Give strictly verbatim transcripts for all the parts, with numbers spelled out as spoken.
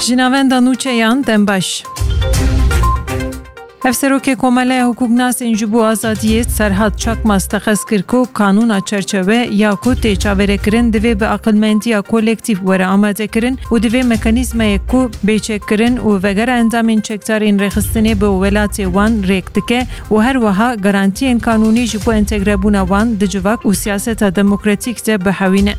Ji navenda nûçeyan dem baş. Hevserokê Komeleya Hukuknasên ji bo Azadiyê Serhat Çakmaz texez kir ku kanûna çerçeve ya ku tê çaverêkirin divê bi aqilmendiya kolektîf were amadekirin û divê mekanîzmayek ku bê çekkirin û vegera endamên çekdarên rêxistinê bi welatê wan rêk dike û her wiha garantiyên kanûnî ji bo entegrebûna wan di civak û siyaseta demokratîk de bihewîne.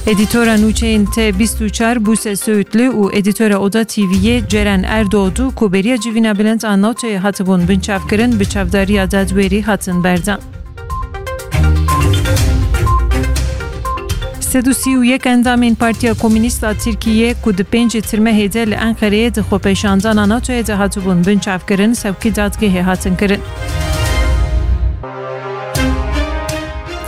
Edîtora nûçeyên T bîst û çar Bûse Söğütlü û edîtora Oda T V'yê Ceren Erdoğdu ku beriya civîna bilind a noteyê hatibûn binçavkirin, bi çavdariya dadwerî hatin berdan. Sed û sî û yek endamên Partiya Komûnîst a Tirkiyê ku di pêncê Tirmehê de li Enqereyê di xwepêşandana natoyê de hatibûn binçavkirin, sewkî dadgehê hatin kirin.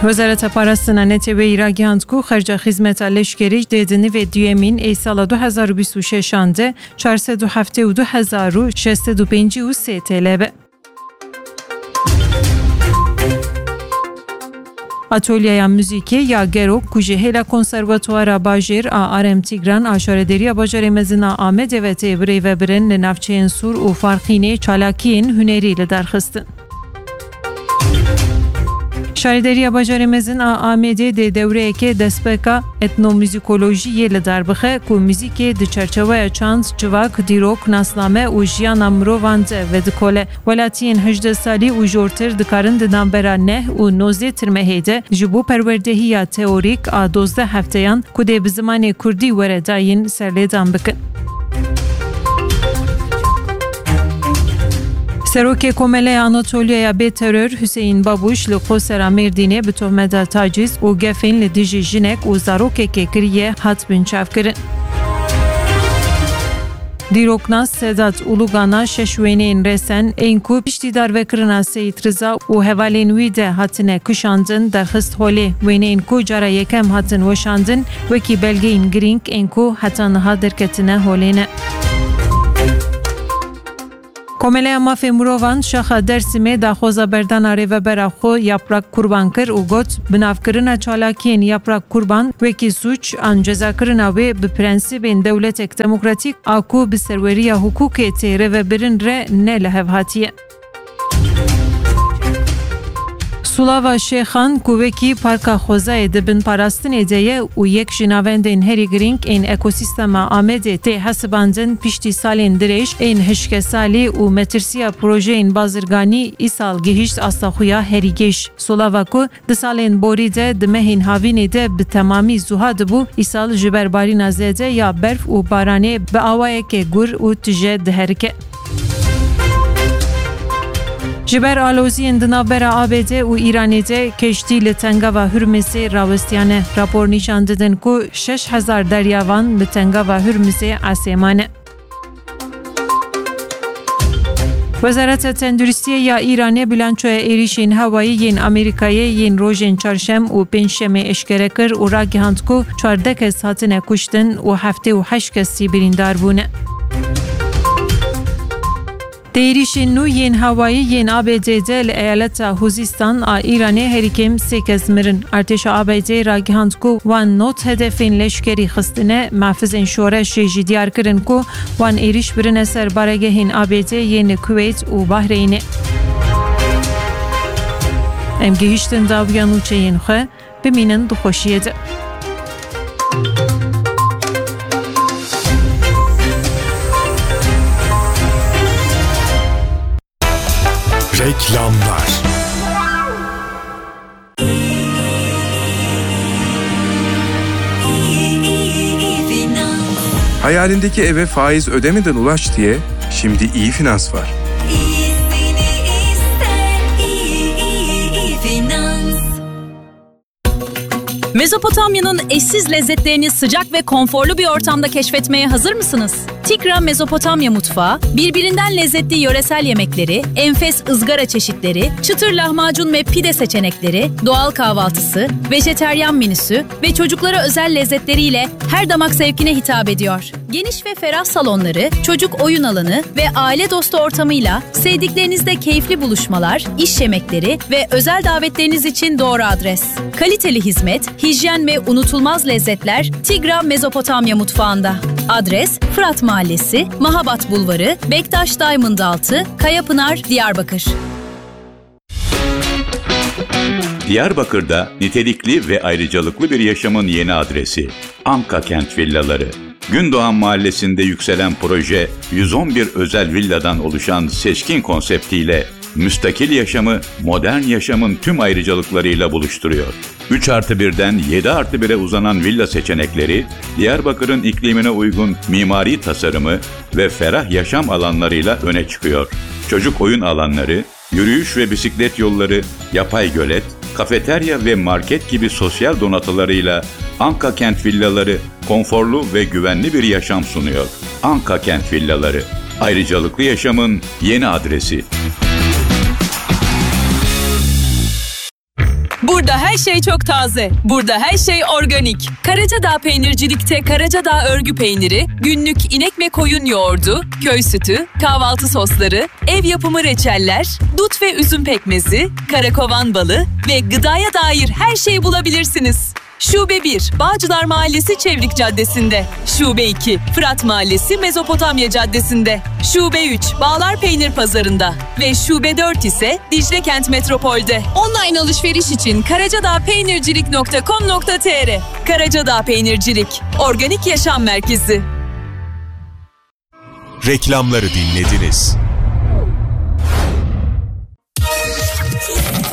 Wezareta Parastina Neteweyî ragihand ku xerca xizmeta leşkerî dê di nivê duyemîn ê sala du hezar û bîst û şeşan de çar sed û heftê û du hezar û şeş sed û pêncî û sê T L be. Atolyeya muzîkê ya Gerok ku ji hêla Konservatuara Bajêr a Arem Tigran a Şarederiya Bajarê Mezin a Amedê ve tê birêvebirin li navçeyên Sûr û Farqînê çalakiyên hunerî li dar xistin. Şarederiya Bajarê Mezin a Amedê dê dewreyekê destpêka etnomuzîkolojiyê li dar bixe ku muzîkê di çerçeweya çand, civak, dîrok, nasname û jiyana mirovan de vedikole. Welatiyên hejdeh salî û jortir dikarin di navbera neh û nozdeh Tirmehê de ji bo perwerdehiya teorîk a dozdeh hefteyan ku dê bi zimanê kurdî were dayîn serlêdan bikin. Serokê Komeleya Anatoliyaya bê teror Hüseyin Babuş li Qosera Mêrdînê bi tohmeta taciz û gefên li dijî jinek û zarokekê kiriye hat binçavkirin. Dîroknas Sedat Ulugana şeş wêneyên resen ên ku piştî darvekirina Seyîd Riza û hevalên wî de hatine kişandin derxist holê. Wêneyên ku cara yekem hatin weşandin wekî belgeyên girîng ên ku heta niha derketine holê ne. Komeleya Mafê Mirovan Şaxa Dersimê daxwaza berdana rêvebera xwe Yaprak Kurban kir û got, binavkirina çalakiyên Yaprak Kurban wekî sûc an cezakirina wê bi prensîbên dewletek demokratîk a ku bi serweriya hukûkê tê rêvebirin re ne li hev hatiye. Sulava Şêxan ku wekî Parka Xwezayê di bin parastinê de ye û yek ji navendên herî girîng ên ekosîstema Amedê tê hesibandin, piştî salên dirêj ên hişkesalî û metirsiya projeyên bazirganî, îsal gihîşt asta xwe ya herî gêj. Sulava ku di salên borî de di mehên havînê de bi temamî zuha dibû, îsal ji ber barîna zêde ya berf û baranê bi awayeke gur û tije diherike. Ji ber aloziyên di navbera A B D û Îranê de keştî li Tengava Hurmizê rawestiyane. Rapor nîşan didin ku şeş hezar deryavan li Tengava Hurmizê esê mane. Wezareta Tenduristiyê ya Îranê bilançoya êrîşên hewayî yên Amerîkayê yên rojên çarşem û pêncşemê eşkere kir û ragihand ku çardeh kes hatine kuştin û heftê û heşt kes jî birîndar bûne. Di êrîşên nû yên hewayî yên A B D de li eyaleta Huzîstan a Îranê herî kêm sê kes mirin. Artêşa A B D ragihand ku wan nod hedefên leşkerî xistine, mehfizên şoreşê jî diyar kirin ku wan êrîş birine ser baregehên A B D yên li Kuweyt û Bahreynê. Em gihîştin dawiya nûçeyên xwe. Bimînin di xweşiyê de. Reklamlar. Hayalindeki eve faiz ödemeden ulaş diye şimdi İyi Finans var. İyisini iste, İyi, İyi, İyi Finans. Mezopotamya'nın eşsiz lezzetlerini sıcak ve konforlu bir ortamda keşfetmeye hazır mısınız? Tigra Mezopotamya mutfağı, birbirinden lezzetli yöresel yemekleri, enfes ızgara çeşitleri, çıtır lahmacun ve pide seçenekleri, doğal kahvaltısı, vejeteryan menüsü ve çocuklara özel lezzetleriyle her damak zevkine hitap ediyor. Geniş ve ferah salonları, çocuk oyun alanı ve aile dostu ortamıyla sevdiklerinizle keyifli buluşmalar, iş yemekleri ve özel davetleriniz için doğru adres. Kaliteli hizmet, hijyen ve unutulmaz lezzetler Tigra Mezopotamya mutfağında. Adres: Fırat Mahallesi, Mahabat Bulvarı, Bektaş Diamond Altı, Kayapınar, Diyarbakır. Diyarbakır'da nitelikli ve ayrıcalıklı bir yaşamın yeni adresi. Anka Kent Villaları. Gündoğan Mahallesi'nde yükselen proje yüz on bir özel villadan oluşan seçkin konseptiyle müstakil yaşamı modern yaşamın tüm ayrıcalıklarıyla buluşturuyor. Üç artı birden yedi artı bire uzanan villa seçenekleri, Diyarbakır'ın iklimine uygun mimari tasarımı ve ferah yaşam alanlarıyla öne çıkıyor. Çocuk oyun alanları, yürüyüş ve bisiklet yolları, yapay gölet, kafeterya ve market gibi sosyal donatılarıyla Anka Kent Villaları konforlu ve güvenli bir yaşam sunuyor. Anka Kent Villaları, ayrıcalıklı yaşamın yeni adresi. Burada her şey çok taze. Burada her şey organik. Karacadağ Peynircilik'te Karacadağ örgü peyniri, günlük inek ve koyun yoğurdu, köy sütü, kahvaltı sosları, ev yapımı reçeller, dut ve üzüm pekmezi, karakovan balı ve gıdaya dair her şeyi bulabilirsiniz. Şube bir, Bağcılar Mahallesi Çevrik Caddesi'nde. Şube iki, Fırat Mahallesi Mezopotamya Caddesi'nde. Şube üç, Bağlar Peynir Pazarı'nda. Ve Şube dört ise Dicle Kent Metropol'de. Online alışveriş için karacadağpeynircilik nokta com nokta tr. Karacadağ Peynircilik, organik yaşam merkezi. Reklamları dinlediniz.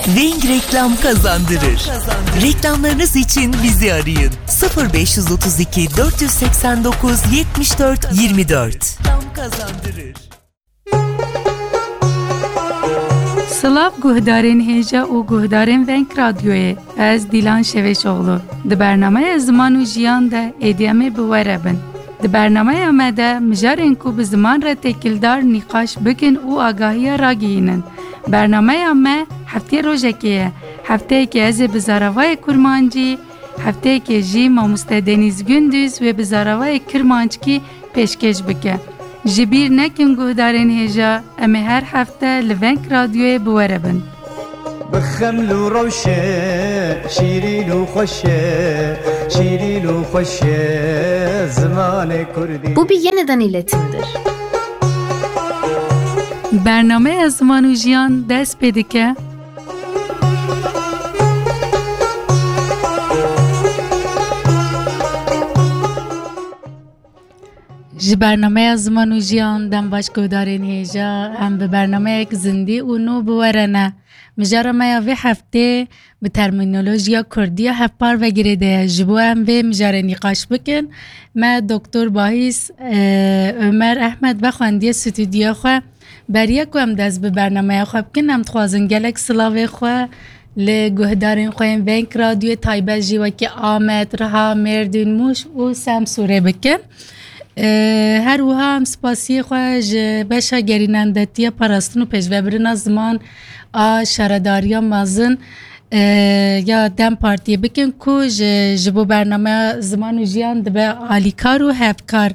Weng Reklam kazandırır. Reklamlarınız için bizi arayın. Sıfır beş yüz otuz iki, dört yüz seksen dokuz, yetmiş dört, yirmi dört. Reklam kazandırır. Silav guhdarên hêja û guhdarên Weng Radyoyê. Ez Dîlan Şevêşoğlu. Di bernameya Ziman û Jiyan de êdî em ê bi we re bin. Di bernameya me de mijarên ku bi ziman re têkildar nîqaş bikin û agahiya ragihînin. Bernameya me heftê rojekê ye. Hefteyekê ez ê bi zaravayê kurmancî, hefteyekê jî mamoste Denîz Gunduz wê bi zaravayê kirmanckî pêşkêş bike. Ji bîr nekin guhdarên hêja, em ê her hefte li Weng Radyoyê bi we re bin. Bi xeml û rewşe, şîrîn û xweş e, şîrîn û xweş e zimanê kurdî. Bu bir yeniden iletimdir. Bernameya Ziman û Jiyan dest pê dike. Ji bernameya Ziman û Jiyan dem baş guhdarên hêja, em bi bernameyek zindî û nû bi we re ne. Mijara me ya vê heftê bi termînolojiya kurdî ya hevpar ve girêde ye. Ji bo em vê mijarê nîqaş bikin, me Doktor Bahîs, e, Omer Ehmed vexwendiye stûdyoya xwe. Beriya ku em dest bi bernameya xwe bikin, em dixwazin gelek silavê xwe li guhdarên xwe yên Veng Radyoyê taybet jî wekî Amed, Riha, Mêrdîn, Mûş û Semsûrê bikin. Ee, her wiha em spasiyê xwe ji beşa gerînendetiya parastin û pêşvebirina ziman a Şaredariya Mezin, ee, ya dem Partiyê bikin ku ji, ji bo bernameya Ziman û Jiyan dibe alîkar û hevkar.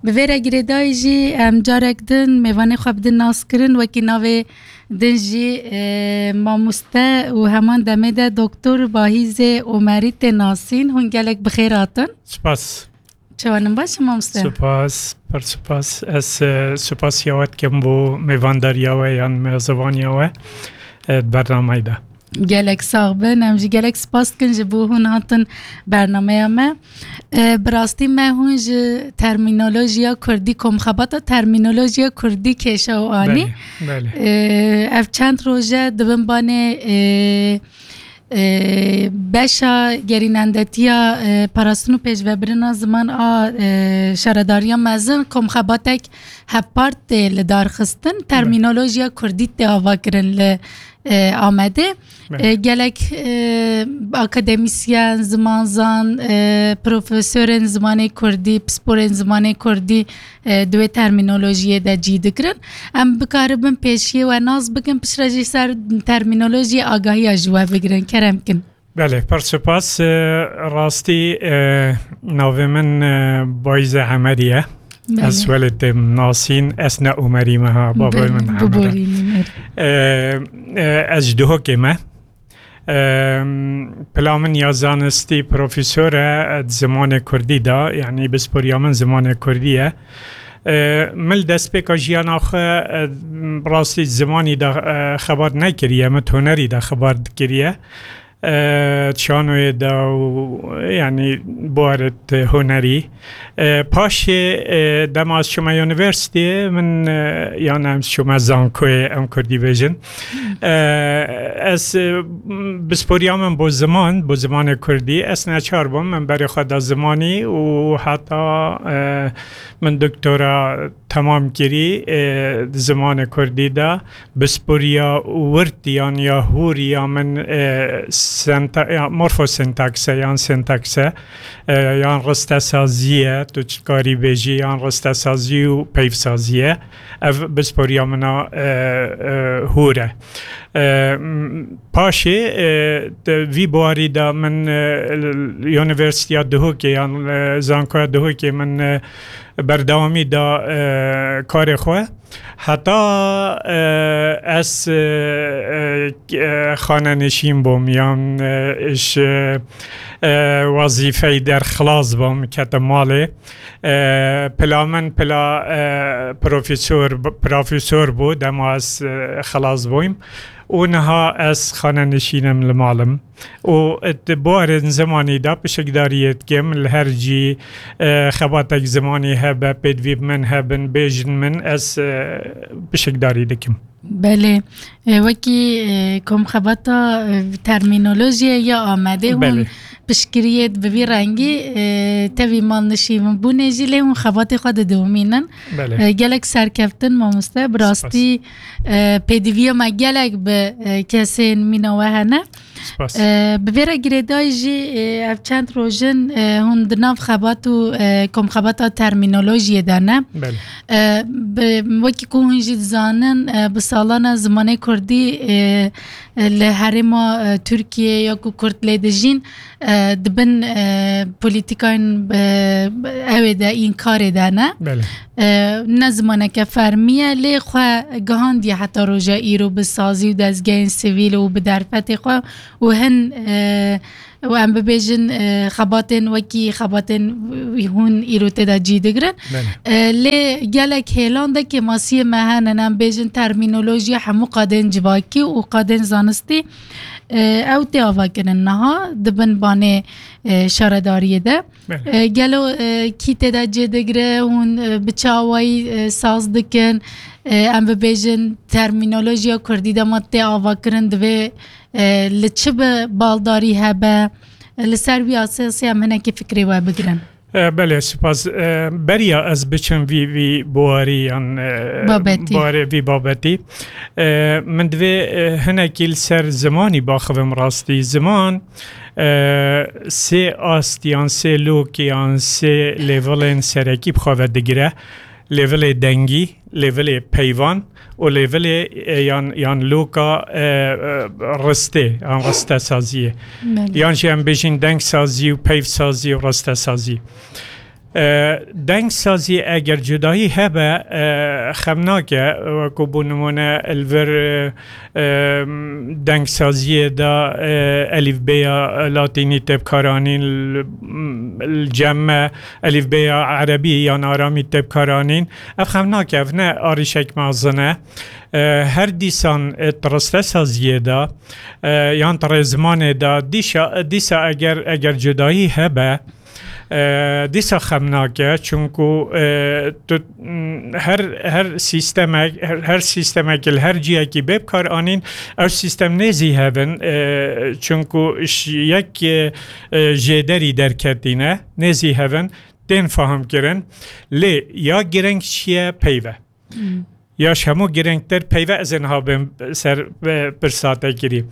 Bi vê re girêdayî jî em carek din mêvanê xwe bidin naskirin, wekî navê din jî, e, mamoste û heman demê de Doktor Bahîzê Omerî tê nasîn. Hûn gelek bi xêr hatin. Spas. Çawanîn baş in mamoste? Spas, pir spas. Ez, e, spasiya we dikim bo mêvandariya we yan mêzebaniya we, e, bernameyê de. Gelek sax bin. Em jî gelek spas dikin ji bo hûn hatin bernameya me. E, bi rastî me hûn ji termînolojiya kurdî, komxebata termînolojiya kurdî kêşa û anî. Belê, belê. E, ev çend roj e di bin banê, e, e, beşa gerînendetiya, e, parastin û pêşvebirina ziman a, e, Şaredariya Mezin komxebatek hevpar tê li dar xistin. Belê. Termînolojiya kurdî tê avakirin li e, Amedê. Belê. E, gelek, e, akademîsyen, zimanzan, e, profesorên zimanê kurdî, pisporên zimanê kurdî, e, di wê termînolojiyê de cî digirin. Em bikaribin pêşiyê we nas bikin, piştre jî ser termînolojiyê agahiya ji we bigirin. Kerem kin. Belê, pir spas. E, rastî, e, navê min, e, Bayze Emerî ye. Belê. Ez welê têm nasîn, ez ne Umerî me ha, babê min Emer e. Biborînin, erê. E, e, ez ji Duhokê me. E, pila min ya zanistî profesor e, e, di zimanê kurdî de, yanî pisporiya min zimanê kurdî ye. E, min li destpêka jiyana xwe, e, rastî zimanî de, e, xebat nekiriye, min hunerî de xebat kiriye. E, çanoyê de û, yanî, buarê hunerî. E, paşê, e, dema ez çûme unîversîteyê, min, e, yan em çûme zankoyê, em kurdî bêjin. E, ez, e, pisporiya min bo ziman, bo zimanê kurdî, ez neçar bûm, min berê xwe da zimanî û heta, e, min doktora temam kirî, e, di zimanê kurdî de. Pisporiya wirt yan ya hûr ya min, e, senta-, ya morfosentaks e yan sentaks e, e, yan ristesazî ye, tu dikarî bêjî, yan ristesazî û peyvsazî ye. Ev pisporiya min a, e, e, hûr e. E, m-, paşê, e, di vî buarî de min, e, l-, Unîversîteya Duhokê yan, e, Zankoya Duhokê min, e, berdewamî da, e, karê xwe. Heta, e, ez, e, e, e, xanenişîn bûm, yan, e, ji, e, wezîfeyî derxilas bûm, ketim malê. E, pila min pila, e, profesor, profesor bû, dema ez, e, xilas bûyim. Û niha ez xanenişîn im li mal im. Û di buarên zimanî de pişikdariyê dikim, li her cî, e, xebatek zimanî hebe, pêdivî bi min hebin, bêjin min, ez, e, pişikdarî dikim. Belê. E, wekî, e, komxebata, e, termînolojiyê ya Amedê hûn Belê. piştgiriyê bi vî rengî, e, tevî malnişînbûnê jî lê hûn xebatê xwe didomînin. Belê. E, gelek serkeftin mamoste. Bi Spas. rastî, e, pêdiviya me gelek bi, e, kesên mîna we hene. Spas. E, bi vê re girêdayî jî, e, ev çend roj in, e, hûn di nav xebat û, e, komxebata termînolojiyê de ne. Belê. E, bi, wekî ku hûn jî dizanin, e, bi salan e zimanê kurdî, e, e, li herêma, e, Tirkiyê ya ku kurd lê dijîn, e, di bin, e, polîtîkayên, e, ewê de, înkarê de ne. Belê. E, ne zimaneke fermî ye, lê xwe gihandiye heta roja îro bi sazî û dezgehên sivîl û bi derfetê xwe û hin, e, û em bibêjin, e, xebatên wekî xebatên wî hûn îro tê de cî digirin. Belê. E, lê gelek hêlan de kêmasiyê me hene, em bêjin termînolojiya hemû qadên civakî û qadên zanistî, e, ew tê avakirin niha di bin banê, e, şaredariyê de. Belê. E, gelo, e, kî tê de cê digire, hûn, e, bi çi awayî, e, saz dikin? E, em bibêjin termînolojiya kurdî dema tê avakirin divê, e, li çi bi baldarî hebe? E, li ser wî esasî em hinekî fikrê we bigirin. E, belê, spas. E, beriya ez biçim vî, vî buarî yan, e, Babetî. buarê vî babetî, e, min divê, e, hinekî li ser zimanî baxivim rastî. Ziman, e, sê ast yan sê lok yan sê levelên serekî bi xwe ve digire. Levelê dengî, levelê peyvan û levelê, e, yan, yan loka, e, e, ristê, yan ristesaziyê. Belê. Yan jî em bêjin dengsazî û peyvsazî û ristesazî. E, dengsazî eger cudahî hebe, e, xem nake, wekû bû nimûne li vir, e, e, dengsaziyê de, e, elîfbeya latînî tê bikaranîn, li, li cem me elîfbeya erebî yan aramî tê bikaranîn. Ev xem nake, ev ne arîşek mezin e. E, her dîsan, e, di ristesaziyê de, e, yan di rêzimanê de, dîşa, dîsa eger, eger cudahî hebe, E, dîsa xem nake, çunku, e, tu, m, her, her sîstemek, her, her sîstemek li her ciyekî bê bikar anîn, ew sîstem nêzî hevin, e, çunku ji yek, e, e, jêderî derketîne, nêzî hevin, tên fahmkirin. Lê ya gireng çi ye, peyv e. Hmm. Ya ji hemû girîngtir peyve ez ê niha bêm ser, e, pirsa te kirî.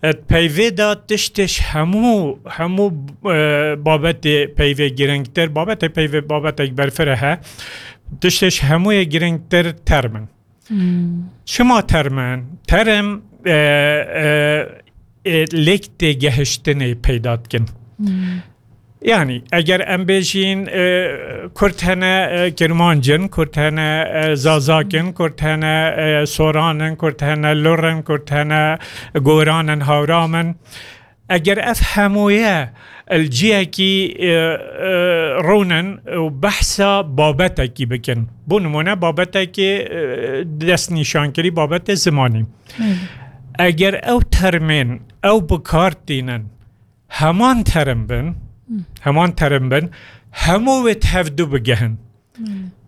E, peyvê de tiştê ji hemû, hemû, e, babetê peyvê girîngtir, babetê peyvê babetek berfireh e. Tiştê ji hemûyê girîngtir term in. Hmm. Çima term in? Term, e, e, e, lêk têgehiştinê peyda dikin. Hmm. Yani, eger em bêjîn, e, Kurd hene, e, Kirmanc in, Kurd hene, e, Zazak in, Kurd hene, e, Soran in, Kurd hene, Lur in, Kurd hene, Goran in, Hawram in. Eger ev hemûye li ciyekî, e, e, rûnin û behsa babetekî bikin. Bo nimûne babetekî, e, destnîşankirî babetê zimanî. Evet. Eger ew termên ew bi kar tînin, heman term bin, heman term bin, hemû wê tevdu bigehin.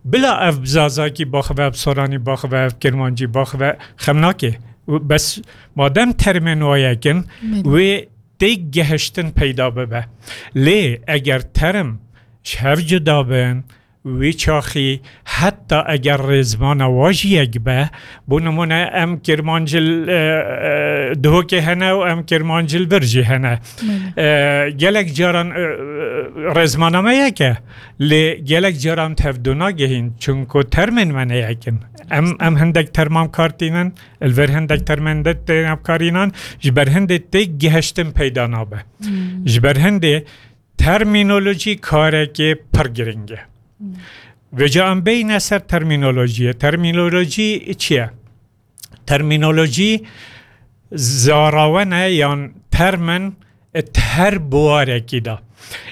Bila ev bi Zazakî baxive, bi Soranî baxive, bi Kirmancî baxive, xem nake. Bes madem termên wa yek in, wê têk gehiştin peyda bibe. Lê eger term ji hev cuda bin, wî çaxî heta eger rêzmana wa jî yek be, bo nimûne em Kirmancî li, e, e, Duhokê hene û em Kirmancî li vir jî hene. E, gelek caran, e, e, rêzmana me yek e, lê gelek caran tevdu nagehîn, çunku termên me ne yek in. Em, em hindek terman kar tînin, li vir hindek termên de têne karînan, ji ber hindê têk gihiştin peyda nabe. Ji ber hindê termînolojî karekê pir giring e. Vêca em bêyne ser termînolojiyê. Termînolojî çi ye? Termînolojî zarawene yan termin di her biwarekî de.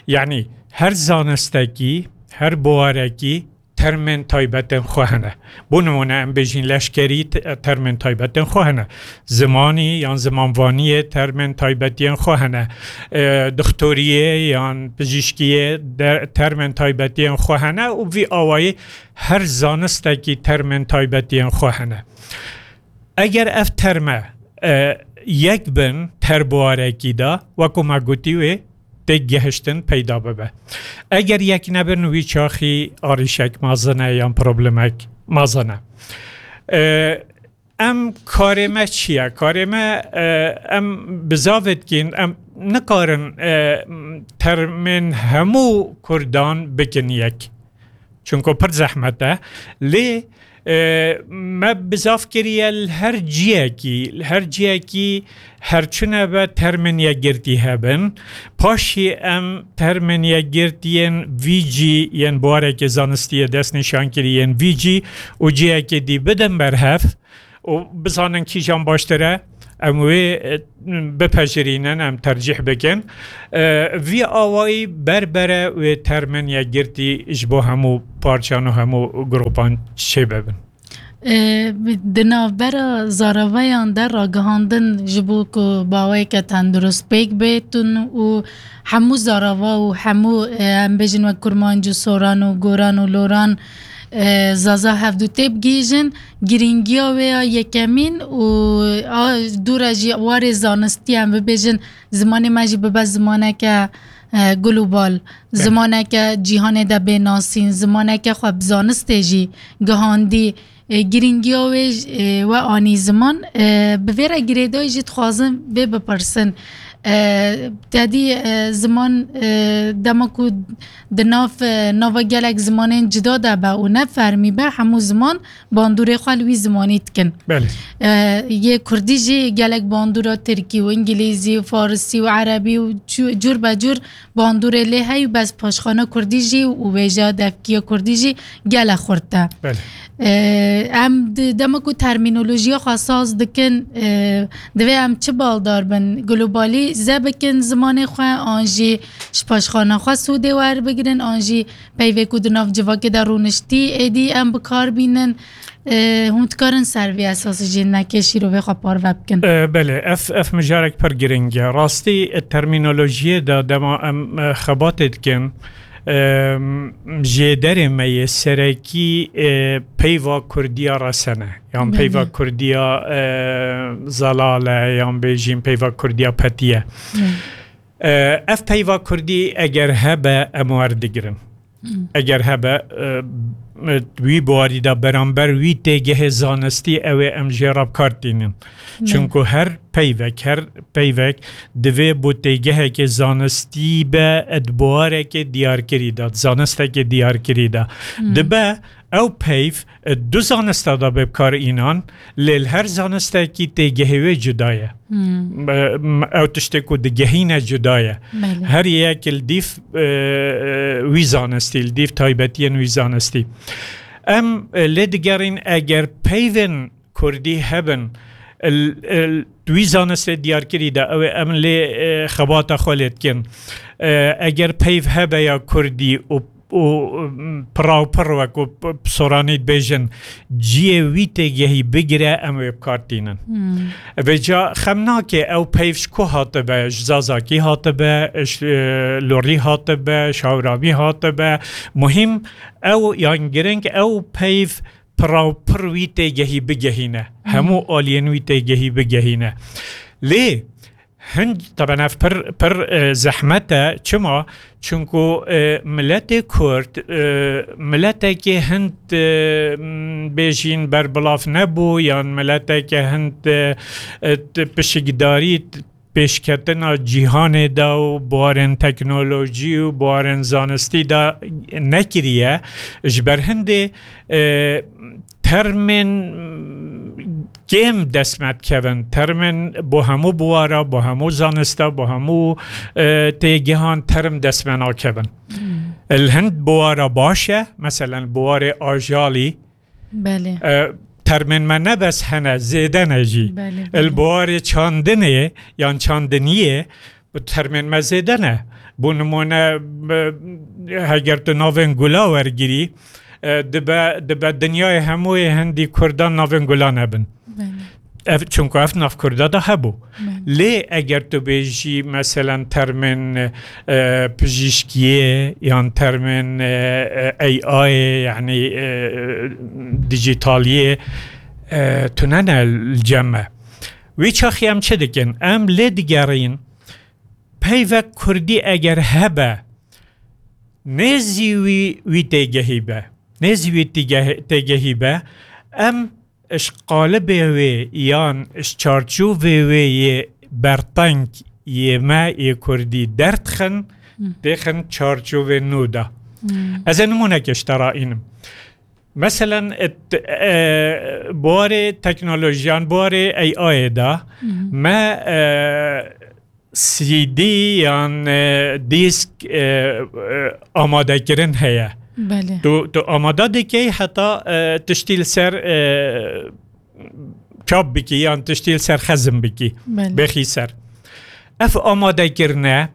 Yanî her zanistekî, her biwarekî termên taybetên xwe hene. Bo nimûne em bêjîn leşkerî te-, termên taybetên xwe hene. Zimanî yan zimanvaniyê termên taybetiyên xwe hene. E, dixtoriyê yan pizîşkiyê de termên taybetiyên xwe hene û vî awayî her zanistekî termên taybetiyên xwe hene. Eger ev terme, e, yek bin terbuarekî de, wekû me gotî wê têk gihiştin peyda bibe. Eger yek nebin, wî çaxî arîşek mezin e yan problemek mezin e. E, em karê me çi ye? Karê me, e, em bizavê dikîn, em nikarin, e, termên hemû Kurdan bikin yek. Çunku pir zehmet e. Lê, e, me bizav kiriye li her ciyekî, li her ciyekî her çune be termên yekgirtî hebin. Paşî em termên yekgirtî yên vî cî, yên biwarekê zanistî yê destnîşan kirî yên vî cî û ciyekê dî bidin ber hev û bizanin kîjan baştir e, em wê, e, bipejirînin, em tercîh bikin. E, vî awayî berbere wê termên yekgirtî ji bo hemû parçan û hemû gropan çêbibin. E, di navbera zaraveyan de ragihandin ji bo ku baweyeke tendurist pêk bêtin û hemû zarava û hemû, e, em bêjin wek kurmanc û soran û goran û loran, e, zaza hevdû têbigihîjin, girîngiya wê ya yekemîn û a dû re jî warê zanistî em bibêjin zimanê me jî bibe zimaneke, e, global, zimaneke cîhanê de bê nasîn, zimaneke xwe bi zanistê jî gihandî, e, girîngiya wê, e, we anî ziman. E, bi vê re girêdayî jî dixwazim vê bipirsin. E, te dî, e, ziman, e, dema ku di nav, e, nava gelek zimanên cida de be û ne fermî be, hemû ziman bandorê xwe li wî zimanî dikin. Belê. E, yê kurdî jî gelek bandora tirkî û îngilîzî û farisî û erebî û cû-, cûr be cûr bandorê lê heyî, bes paşxana kurdî jî û wêjeya devkî ya kurdî jî gelek xurt e. Belê. E, em di, dema ku termînolojiya xwe saz dikin, e, divê em çi baldar bin? Globalîze bikin zimanê xwe, an jî ji paşxana xwe sûdê werbigirin, an jî peyvê ku di nav civakê de rûniştî, êdî em bi kar bînin. E, hûn dikarin ser vê esasî jî hinekê şîrovê xwe parve bikin? E, belê, ev, ev mijarek pir giring e. Rastî, e, termînolojiyê de dema em, e, xebatê dikin, e, jêderê me yê serekî, e, peyva kurdiya resene, yan peyva kurdiya, e, zelale, yan bêjîn peyva kurdiya petiye. E, ev peyva kurdî eger hebe, em werdigirin. Eger hebe, e, e, wî biwarî de beramber wî têgehê zanistî, ew ê em jê re bi kar tînin. Çunku her peyvek, her peyvek divê bo têgehekê zanistî be, di biwarekê diyarkirî de, di zanistekê diyarkirî de. Dibe ew peyv, e, du zanista de bê bi kar înan, lê li her zanistekî têgehê wê cuda ye. M-, m-, ew tiştê ku digehîne cuda ye. Belê. Her yek li dîv, e, e, wî zanistî, li dîv taybetiyên wî zanistî. Em, e, lê digerîn, eger peyvên kurdî hebin, il, il, wî zanistê diyarkirî de, ew ê em lê, e, xebata xwe lê dikin. E, eger peyv hebe ya kurdî û, û, m, piraw pir wek û p-, soranî dibêjin, ciyê wî têgehî bigire, em wê bi kar tînin. Vêca xem nake ew peyv ji ku hatibe, ji Zazakî hatibe, ji, e, Lorî hatibe, ji Hawramî hatibe. Muhîm ew, yan giring ew peyv piraw pir wî têgehî bigehîne. Hemû aliyên wî têgehî bigehîne. Lê hin, taben ev pir, pir, e, zehmet e. Çima? Çunku, e, miletê Kurd, e, miletekê hind, e, m, bêjîn berbilav nebû, yan mileteke hind, e, e, t-, pişikdarî t-, pêşketina cîhanê de û buwarên teknolojî û buwarên zanistî de nekiriye. Ji ber hindê, e, termên kêm dest me dikevin. Termên bo hemû biwara, bo hemû zanista, bo hemû, e, têgehan term dest me nakevin. Li hind biwara baş e, meselen biwarê ajalî, Belê. E, termên me ne bes hene, zêde ne jî. Belê, Li belê. Biwarê çandinê yan çandiniyê, bi termên me zêde ne. Bo nimûne, e, heger tu navên gula wergirî, e, dibe, dibe dinyayê hemûyê hindî kurdan navên gula nebin. Belê. Ev, çunku ev nav kurda da hebû. Belê. Lê eger tu bêjî, meselen, termên, e, pijîşkiyê yan termên, e, e, A I, yanî, e, dijitaliyê, e, tune ne li cem me. Wî çaxî em çi dikin? Em lê digerîn, peyvek kurdî eger hebe, nêzî wî, wî têgehî be. Nêzî wî tîgeh-, têgehî be, em ji qalibê wê yan ji çarçovê wê yê berteng yê me yê kurdî derdixin, Hı. dêxin çarçovê nû de. Hı. Ez ê nimûneke ji te re înim. Meselen, et, e, buwarê teknolojiyan, buwarê A I de Hı. me, e, C D yan, e, dîsk, e, e, amadekirin heye. Belê. Tu, tu amade dikey heta, e, tiştî li ser, e, çap bikî yan tiştî li ser xezim bikî. Belê. Bêxî ser. Ev amadekirine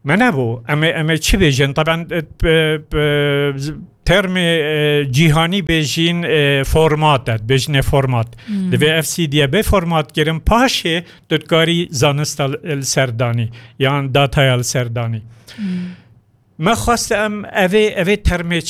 me nebû. Em ê, em ê çi bêjin? Taben, e, p-, p-, termê, e, cîhanî bêjîn, e, format e, dibêjinê format. Hmm. Divê ev C D'ye bê format kirin, paşê tu dikarî zanista li, li ser danî, yan dataya li ser danî. Hmm. Me xwest em evê, evê termê